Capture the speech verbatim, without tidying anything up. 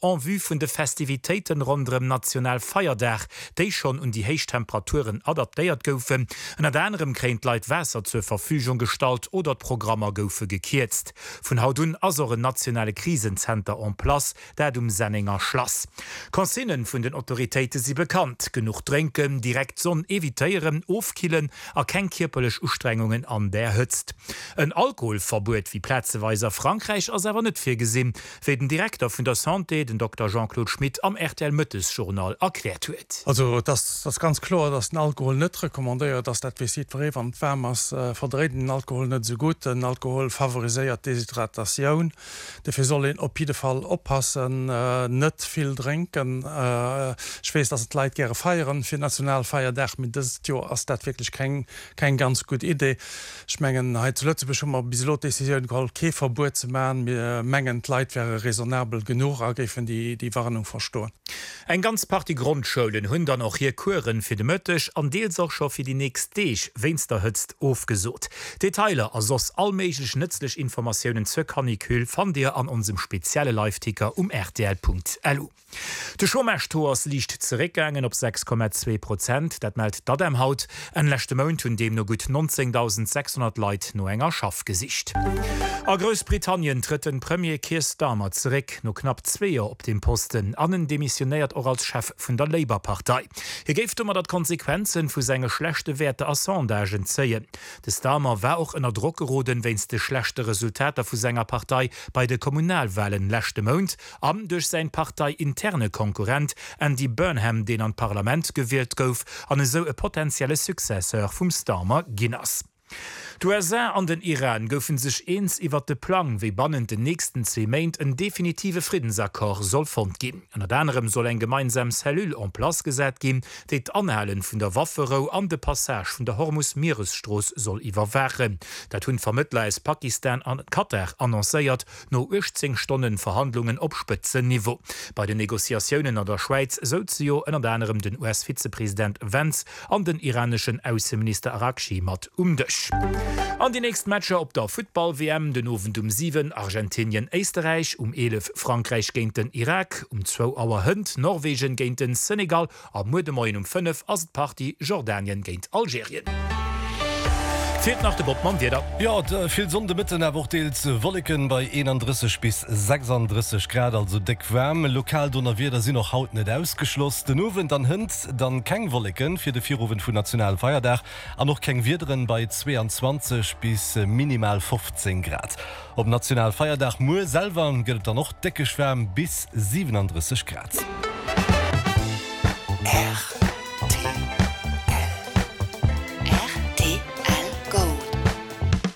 en vue vun de Festivitéiten ronderëm Nationalfeierdag, déi schonn un déi héich Temperaturen adaptéiert goufen. Ënnert anerem kréien d'Leit Waasser zur Verfügung gestallt oder d'Programmer goufe gekierzt. Vun haut un ass och en nationale Krisenzenter en place, dat um Sennenger Schlass. Consignen vun den Autoritéite si bekannt, genuch drénken, direkt Sonn evitéieren, ofkillen a keng kierperlech Ustrengungen an där Hëtzt. En Alkoholverbuet wéi plazeweis a Frankräich ass awer net virgesinn, wéi den Direkter vun der Santé, den Dokter Jean-Claude Schmit am RTL-Mëttesjournal erkläert huet. Also et ass ganz kloer, datt den Alkohol net recommandéiert ass. Dat weess jiddweree, wann et waarm ass, verdréit een den Alkohol net esou gutt. Den Alkohol favoriséiert d'Deshydratatioun. Dofir soll een op jidde Fall oppassen, net vill drénken. Ech weess, datt d'Leit gäre feieren fir Nationalfeierdag, mee dëst Joer ass dat wierklech keng keng ganz gutt Idee. Ech mengen, hei zu Lëtzebuerg hu mer bis elo d'Décisioun geholl, kee Verbuet ze maachen. Mir mengen, d'Leit wäre raisonnabel genuch a géifen déi Warnung verstoen. Eng ganz Partie Grondschoulen hunn dann och hir Coursen fir de Mëtteg an deels och scho fir déi nächst Deeg wéinst der Hëtzt ofgesot. Detailer a soss all méiglech nëtzlech Informatiounen zur Canicule fannt Dir an onsem spezielle Liveticker um rtl.lu. De Chômage-Taux ass liicht zeréckgaangen op sechs Komma zwee Prozent, dat mellt d'ADEM haut. Enn leschte Mount hunn deemno gutt nonzéngdausend sechshonnert Leit no enger Schaff gesicht. A Groussbritannien trëtt de Premier Keir Starmer zeréck, no knapp zwee Joer op deem Posten, an en demissionéiert och als Chef vun der Labour-Partei. Hie géif domadder d'Konsequenze vu senge schlechte Wäerter a Sondagen zéien. De Starmer war och ënner Drock geroden, wéinst de schlechte Resultater vu senger Partei bei de Kommunalwalen leschte Mount an duerch säin parteiinterne Konkurrent Andy Burnham, deen an d'Parlament gewielt gouf an esou e potentielle Successeur vum Starmer ginn ass. D'USA an den Iran goufe sech eens iwwert de Plang, wéi bannent den nächsten zwee Méint en definitive Friddensaccord soll fonnt ginn. Ënnert anerem soll eng gemeinsam Cellule en place gesat ginn, déi d'Anhale vun der Wafferou an de Passage vun der Hormus-Mieresstrooss soll iwwerwaachen. Dat hunn d'Vermëttler aus Pakistan an Katar annoncéiert, no uechtzéng Stonne Verhandlungen op Spëtzenniveau. Bei den Negociatiounen an der Schwäiz souze jo ënnert anerem den U S-Vizepresident Vance an den iraneschen Ausseminister Araghchi mat um Dësch. An déi nächst Matcher op der Futtball-W M, den Owend um siwen Argentinien-Éisterräich, um eelef Frankräich géint den Irak, um zwou Auer hënt Norwegen géint den Senegal a muer de Moien um fënnef ass et d'Partie Jordanien géint Algerien. Feelt nach de Bob mam Wieder. Jo, vill Sonn de Mëtten, awer och deels Wolleken bei eenandrësseg bis sechsandrësseg Grad, also déck waarm. Lokal Donnerwieder sinn och haut net ausgeschloss. Den Owend an hënt dann keng Wolleken fir de Virowend vun Nationalfeierdag an och keng Wiederen bei zweeanzwanzeg bis minimal fofzéng Grad. Op Nationalfeierdag muer selwer gëtt et dann och déckeg waarm bis siwenandrësseg Grad.